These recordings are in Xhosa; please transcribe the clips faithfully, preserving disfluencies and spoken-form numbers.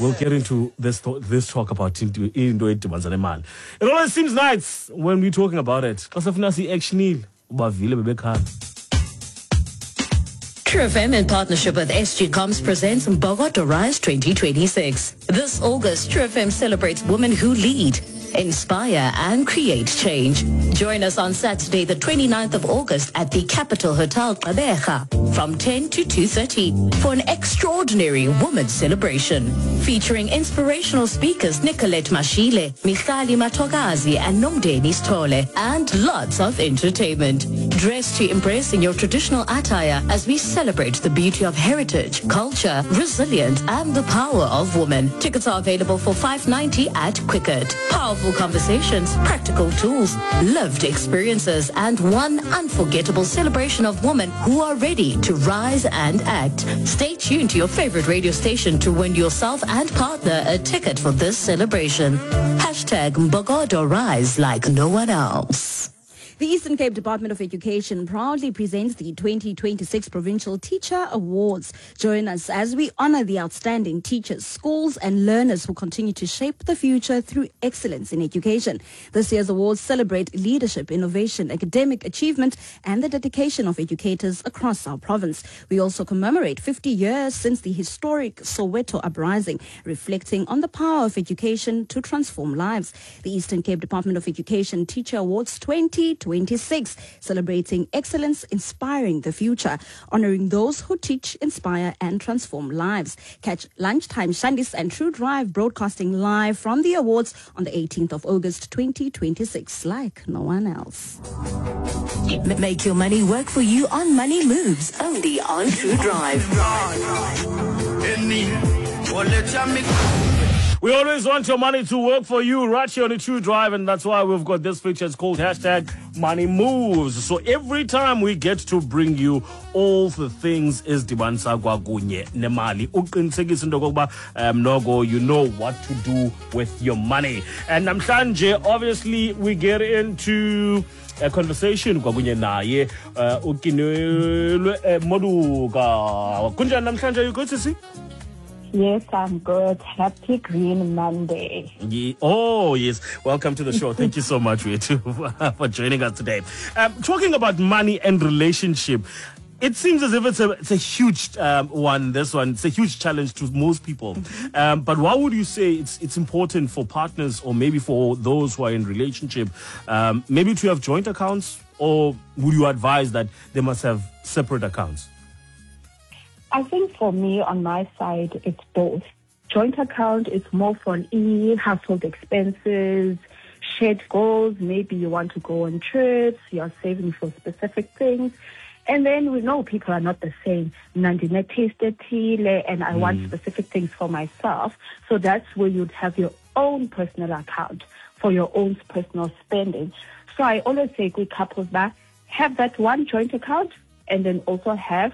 We'll get into this this talk about into into edibanisa nemali. It always seems nice when we're talking about it. Xa sifuna si-actionile, ubavile bebekhala. True F M in partnership with S G Comms presents Mbokodo Rise twenty twenty-six. This August, True F M celebrates women who lead, inspire and create change. Join us on Saturday, the twenty-ninth of August at the Capital Hotel Gqeberha from ten to two thirty for an extraordinary women's celebration featuring inspirational speakers Nicolette Mashile, Michali Matogazi and Nomdeni Stole, and lots of entertainment. Dress to impress in your traditional attire as we celebrate the beauty of heritage, culture, resilience and the power of women. Tickets are available for five ninety at Quicket. Powerful conversations, practical tools, lived experiences, and one unforgettable celebration of women who are ready to rise and act. Stay tuned to your favorite radio station to win yourself and partner a ticket for this celebration. Hashtag Mbokodo Rise like no one else. The Eastern Cape Department of Education proudly presents the twenty twenty-six Provincial Teacher Awards. Join us as we honor the outstanding teachers, schools and learners who continue to shape the future through excellence in education. This year's awards celebrate leadership, innovation, academic achievement and the dedication of educators across our province. We also commemorate fifty years since the historic Soweto Uprising, reflecting on the power of education to transform lives. The Eastern Cape Department of Education Teacher Awards twenty twenty-six, celebrating excellence, inspiring the future, honoring those who teach, inspire and transform lives. Catch Lunchtime Shandis and True Drive broadcasting live from the awards on the eighteenth of August twenty twenty-six, like no one else. Make your money work for you on Money Moves, only on True Drive. We always want your money to work for you right here on the True Drive, and that's why we've got this feature. It's called hashtag Money Moves. So every time we get to bring you all the things ezidibanisa kwakunye nemali, uqinisekise into yokokuba um noko you know what to do with your money. And namhlanje, obviously, we get into a conversation kwakunye naye uh, uKeneilwe Moduka. Kunjani namhlanje? You good to see? Yes, I'm good. Happy Green Monday. Yeah. Oh, yes. Welcome to the show. Thank you so much, Wetu, for joining us today. Um, talking about money and relationship, it seems as if it's a, it's a huge um, one, this one. It's a huge challenge to most people. Mm-hmm. Um, but why would you say it's, it's important for partners or maybe for those who are in relationship, um, maybe to have joint accounts, or would you advise that they must have separate accounts? I think for me, on my side, it's both. Joint account is more for e household expenses, shared goals. Maybe you want to go on trips, you're saving for specific things. And then we know people are not the same. Nandine tasted tea, and I mm. want specific things for myself. So that's where you'd have your own personal account for your own personal spending. So I always say good couples that have that one joint account and then also have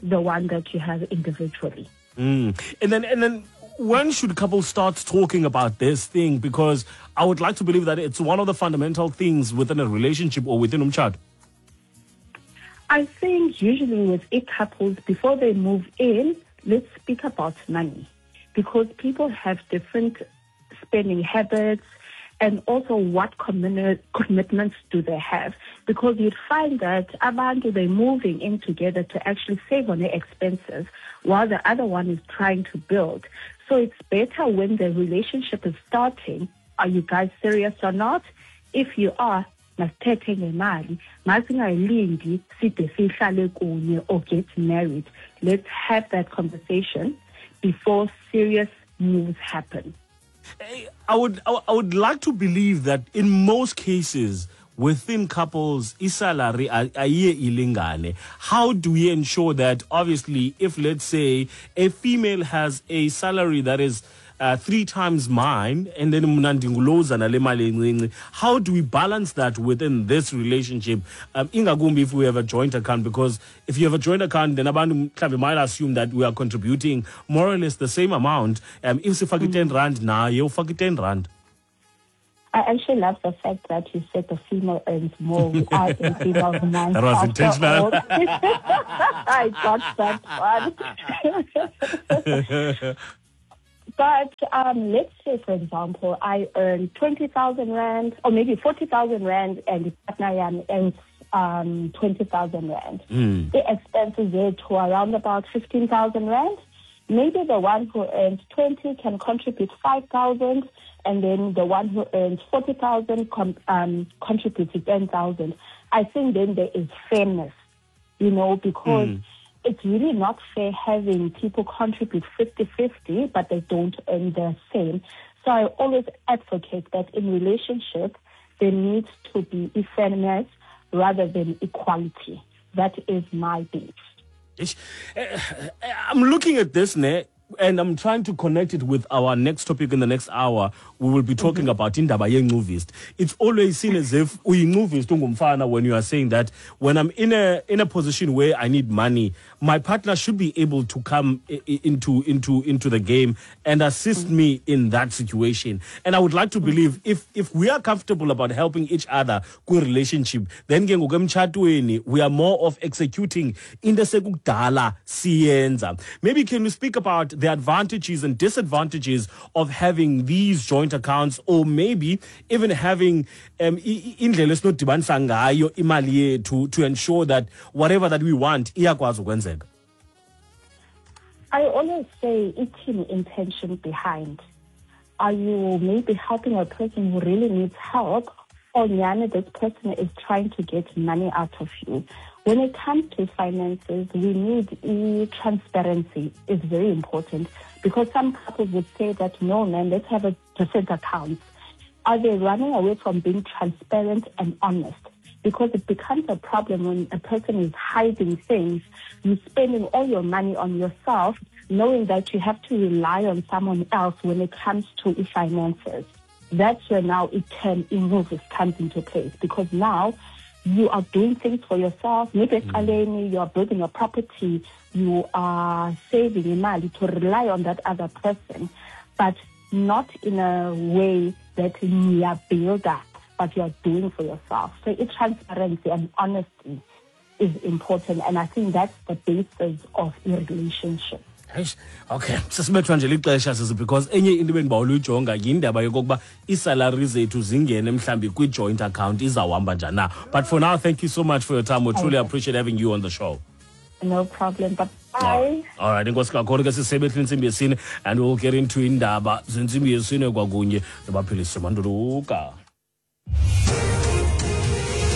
the one that you have individually. Mm. And then, and then when should couples start talking about this thing? Because I would like to believe that it's one of the fundamental things within a relationship or within umtshato. I think usually with eight couples, before they move in, let's speak about money, because people have different spending habits and also what commi- commitments do they have. Because you'd find that abantu, they're moving in together to actually save on their expenses while the other one is trying to build. So it's better when the relationship is starting, are you guys serious or not? If you are, masithethe ngemali, masingayilindi side sihlale kunye or get married. Let's have that conversation before serious moves happen. I would I would like to believe that in most cases within couples, isalary ayiye ilingane. How do we ensure that, obviously, if let's say a female has a salary that is uh, three times mine, and then mna ndinguloza nale mali encinci, how do we balance that within this relationship? Um, ingakumbi if we have a joint account, because if you have a joint account, then abantu mhlawumbi might assume that we are contributing more or less the same amount. Um, if sifake ten rand naye ufake ten rand. I actually love the fact that you said the female earns more. We are in female months. That was intentional. I got that one. But um, let's say, for example, I earn twenty thousand rand or maybe forty thousand rand and the partner earns um, twenty thousand rand. Mm. The expenses there to around about fifteen thousand rand. Maybe the one who earns twenty can contribute five thousand, and then the one who earns forty thousand com- um, contributes ten thousand. I think then there is fairness, you know, because mm. it's really not fair having people contribute fifty-fifty, but they don't earn the same. So I always advocate that in relationships, there needs to be fairness rather than equality. That is my belief. I'm looking at this, ne, and I'm trying to connect it with our next topic in the next hour. We will be talking mm-hmm. about indaba yencuvist. It's always seen as if uyincuvist ungumfana when you are saying that when I'm in a in a position where I need money, my partner should be able to come into into into the game and assist mm-hmm. me in that situation. And I would like to believe if if we are comfortable about helping each other kwi relationship, then ke ngoku emtshatweni we are more of executing into esekukudala siyenza. Maybe can we speak about the advantages and disadvantages of having these joint accounts, or maybe even having um indlela esinodibanisa ngayo imali yethu to ensure that whatever that we want iyakwazi ukwenzeka? I always say ithini intention behind. Are you maybe helping a person who really needs help, or nyana this person is trying to get money out of you? When it comes to finances, we need e transparency is very important, because some couples would say that, no, man, let's have a different account. Are they running away from being transparent and honest? Because it becomes a problem when a person is hiding things. You're spending all your money on yourself, knowing that you have to rely on someone else when it comes to finances. That's where now it can, it comes into place, because now you are doing things for yourself. Maybe mm. you are building a property, you are saving money to rely on that other person, but not in a way that you are builder, but you are doing for yourself. So it, transparency and honesty is important, and I think that's the basis of a relationship. Okay, sisibethwa nje lixesha sisi, because enye into bendibawela uyijonga yindaba yokokuba iisalary zethu zingene mhlambi kwi-joint account izawuhamba njani na. But for now, thank you so much for your time. We truly appreciate having you on the show. No problem. Bye. All right, enkosi kakhulu ke sisebethile intsimbi yesine, and we'll get into indaba zentsimbi yesine kwakunye noBaphilise Manduluka.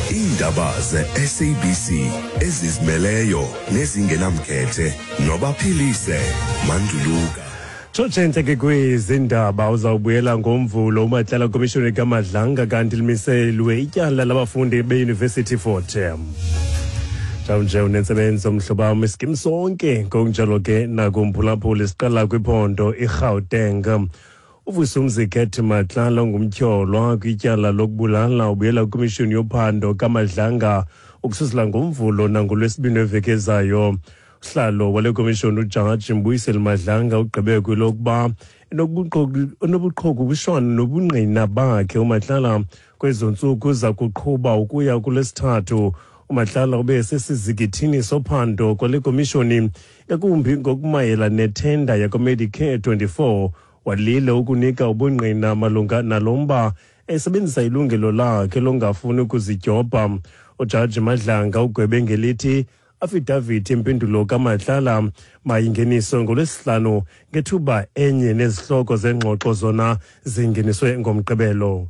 Iindaba ze-S A B C ezizimeleyo nezingenamkhethe noBaphilise Manduluka. Tshotshentle ke kwezindaba uzawubuyela ngoMvulo uMatlala komishoni kaMadlanga, kanti limiselwe ityala labafundi beYunivesithi Fort Hare. Njawunje unentsebenzo mhlobo wam, iskim sonke ngokunjalo ke nakumphulaphuli siqala kwiphondo iGauteng. UVusumuzi Cat Matlala ngumtyholwa kwityala lokubulala ubuyela kwimishini yophando kaMadlanga ukususela ngoMvulo nangolwesibini weveki ezayo. Usihlalo wale komishoni uJaji Mbuyiseli Madlanga ugqibe kwelokuba enobuqhokubushwana nobungqina bakhe uMatlala kwezo ntsuku za kuqhuba ukuya kulesithathu. uMatlala ube sesizikithini sophando kwale komishoni ngakumbi ngokumayela nethenda yakwaMedicare twenty-four. Walile ukunika ubungqina malunga nalomba esebenzisa ilungelo lakhe longafuni ukuzidyobha. UJaji Madlanga ugwebe ngelithi affidavit impendulo kaMatlala mayingeniswe ngolwesihlanu ngethuba enye nezihloko zengxoxo zona zingeniswe ngoMgqibelo.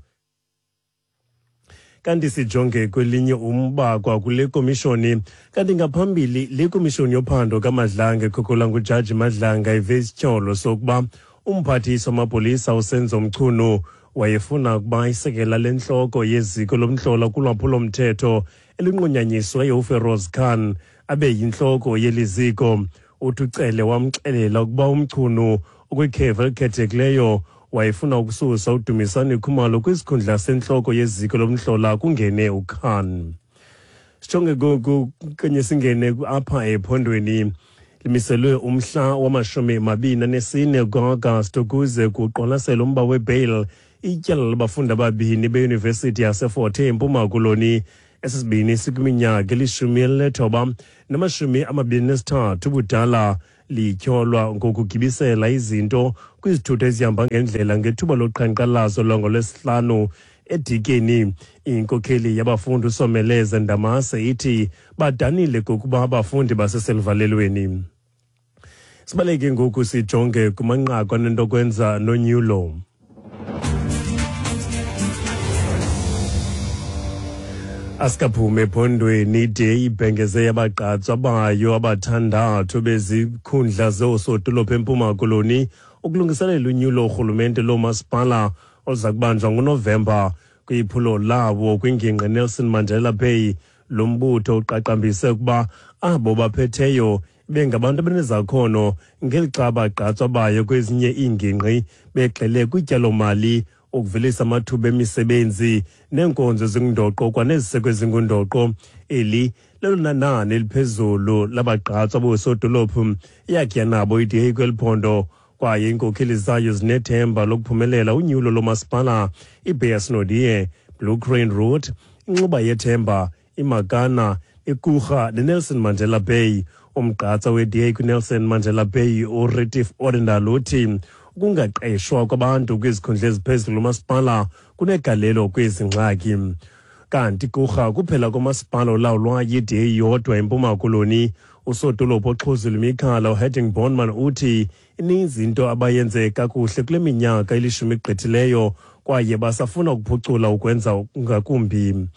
Kanti sijonge kwelinye umba kwakule komishoni, kanti ngaphambili le komishoni yophando kaMadlanga ekhokelwa nguJaji Madlanga ive isityholo sokuba umphathiswa wamapolisa uSenzo Mchunu wayefuna ukuba isekela lentloko yeziko lomhlola kulwaphulomthetho elinqunyanyisweyo uFeroz Khan abe yintloko yeli ziko. Uthi uCele wamxelela ukuba uMchunu ukwikhefu elikhethekileyo wayefuna ukususa uDumisani Khumalo kwisikhundla sentloko yeziko lomhlola kungene uKhan. Sijonge kanye singene apha ephondweni. Limiselwe umhla wamashumi mabini anesine ku-Agasti ukuze kuqwalaselwe umba webail ityala labafundi ababini beyunivesithi yaseFort Hare eMpuma Koloni. Esi sibini sikwiminyaka elishumi elinethoba namashumi amabini nesithathu ubudala, Lityholwa ngokugibisela izinto kwizithuthi ezihamba ngendlela ngethuba loqhankqalazo lwangolwesihlanu eDikeni. Inkokheli yabafundi uSomeleze Ndamase ithi badanile kokuba abafundi baseseluvalelweni. Sibaleke ngoku sijonge kumanqaku anento kwenza nonyulo. Asikaphume ephondweni ide ibhengeze yabagqatswa bayo abathandathu bezikhundla zoosodolophu eMpuma Koloni ukulungiselela unyulo urhulumente loomasipala oluza kubanjwa ngoNovemba. Kwiphulo lawo kwingingqi Nelson Mandela Bay, lo mbutho uqaqambise ukuba abo baphetheyo bengabantu abanezakhono ngelixa abagqatswa bayo kwezinye iingingqi begxile kwityalomali, ukuvelisa amathuba emisebenzi neenkonzo ezingundoqo kwaneziseko ezingundoqo. Eli lelona nani eliphezulu labagqatswa boosodolophu yakhe yanabo i-D A kweli phondo, kwaye iinkokheli zayo zinethemba lokuphumelela unyulo lomasipala iBeyers Naudé, Blue Crane Road, Inxuba Yethemba, iMakana, iKurha neNelson Mandela Bay. Umgqatsa we-D A kwiNelson Mandela Bay uRetief Odendaal uthi ukungaqeshwa kwabantu kwizikhundla eziphezulu masipala kunegalelo kwezi ngxaki. Kanti Kurha kuphela komasipala olawulwa yi-D A yodwa eMpuma Koloni. Usodolophu oxhuzula imikhala uHedding Bornman uthi ininzi into abayenze kakuhle kule minyaka elishumi igqithileyo kwaye basafuna ukuphucula ukwenza ngakumbi.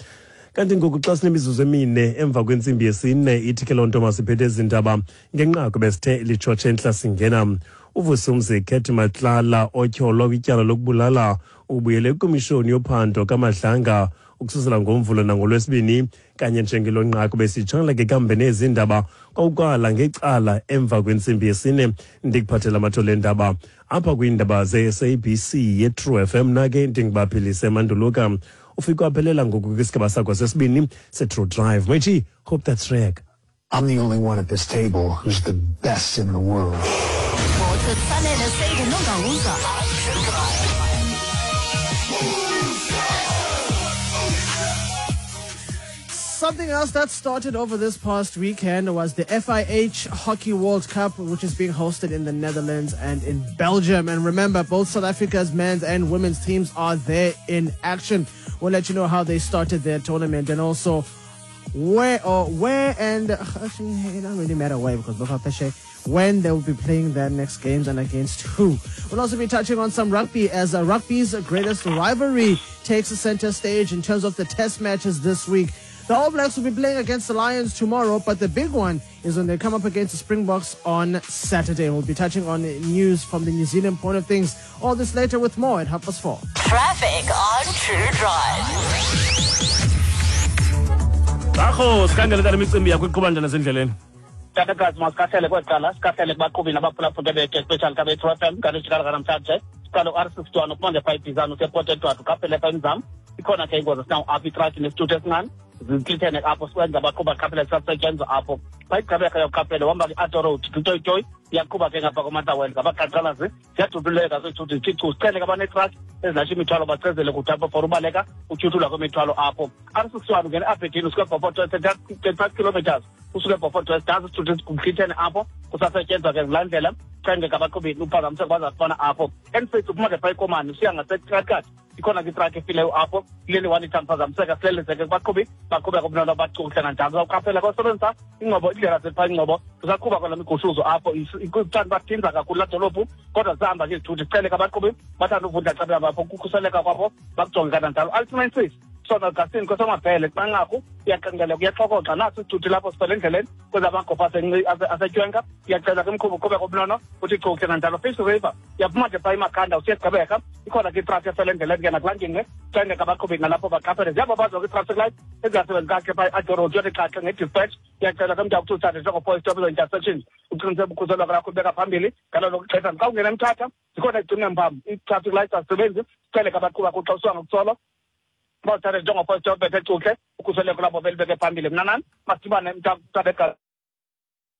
Kanti ngoku xa sinemizuzu emine emva kwentsimbi yesine, ithi ke loo nto masiphethe ezi ndaba ngenqaku besithe litshotshe entla singena. UVusumzi Cat Matlala otyholwa kwityala lokubulala ubuyele kwikomishoni yophando kaMadlanga ukususela ngoMvulo nangolwesibini. Kanye njengelo nqaku besitshangela ke kambe nezi ndaba kwawukwala ngecala emva kwentsimbi yesine. Ndikuphathela amathole endaba apha kwiindaba ze-S A B C ye-True F M. Nake ndingubaphilise Manduluka. Ufike waphelela ngoku kwisigaba sakho sesibini se-True Drive. Mechi, hope that's reg. I'm the only one at this table who's the best in the world. Something else that started over this past weekend was the F I H Hockey World Cup, which is being hosted in the Netherlands and in Belgium. And remember, both South Africa's men's and women's teams are there in action. We'll let you know how they started their tournament and also where or where and actually it doesn't really matter where, because when they will be playing their next games and against who. We'll also be touching on some rugby as uh, rugby's greatest rivalry takes the center stage in terms of the test matches this week. The All Blacks will be playing against the Lions tomorrow, but the big one is when they come up against the Springboks on Saturday. We'll be touching on news from the New Zealand point of things. All this later with more at half past four. Traffic on True Drive. Bakho, sikhangele tata imicimbi yakho iqhuba njani ezindleleni? Tatakazi masikahlele kweqala, sikahlele kubaqhubi nabaphulaphula bethu especially kabe True F M kanijikala namhlanje. Siqala u-R sixty-one uphuma nge-five Bizana usePort Edward uqaphele apha eMzam. Ikhona ke ingozi sinawo apha itraki nesithuthi esincane. Zihlithene apho sikwenza abaqhuba qhaphele sisasetyenzwa apho. Xa igqibeka yokuqaphele uhamba kwi-Atto Road kuToyitoyi iyaqhuba ke ngapha koMatawela ngabaqhankqalazi ziyadubuleka zezithuthi zithi chu. Sicele ke abanetraki ezilasha imithwalo bachezele kude apho for ubaleka utyhuthulwa kwemithwalo apho. R sixty-one ungena eAberdeen usuka eBeaufort thirty-five kilometers usuka eBeaufort West nazi isithuthi zihlithene apho kusasetyenzwa ke ngulaa ndlela. Cenge abaqhubi uphazamiseko bazafana apho. N six uphuma ngepha eKomani usiya ngaseTrakati ikhona ke itraki efileyo apho kuleli one ithanda phazamiseka silelezeke kubaqhubi baqhubeka ubunolo bacukuhle kanjalo. Uzawuqaphela kwasebenzisa ingcobo indlela zethu ingcobo kusaqhuba kwala migushuzo apho ithanda bathinza kakhulu laa dolophu kodwa zihamba ke izithuthi. Sicele ke abaqhubi bathanda uvundla xa behamba apho kukhuseleka kwapho bakujonge kananjalo. Alternate six sona Augustine kwesamabhele kumanqaku iyaqengeleka kuyaxokoxa naso isithuthi lapho sifele endleleni kwezamagopha asetywenka iyacela ke umqhubi uqhubeka ubunono uthi chukuhle kanjalo. Fish River iyaphuma nje phaa iMakhanda usiya eGqeberha ikhona ke itraffic efele endleleni ke nakulaa ngingqi cenge abaqhubi nalapho baqaphele. Ziyababazwa ke i-traffic light ezingasebenzi kakuhle phaa i-Addo Road yothi xhaxhe nge-dispatch iyacela ke umntu akuthi uthathe njengophoyi stop ezo intersections uqiniseke ukhuseleko lakho ubeka phambili ngalo lonke ixesha. Xa ungena eMthatha zikhona izigcine mpam i-traffic lights azisebenzi sicele ke abaqhubi kuxa usuka ngokutsolo bawuthathe njengophoyi stop bethe cuhle ukhuseleko labo belibeke phambili. Mna nani masidibane mntakabeka.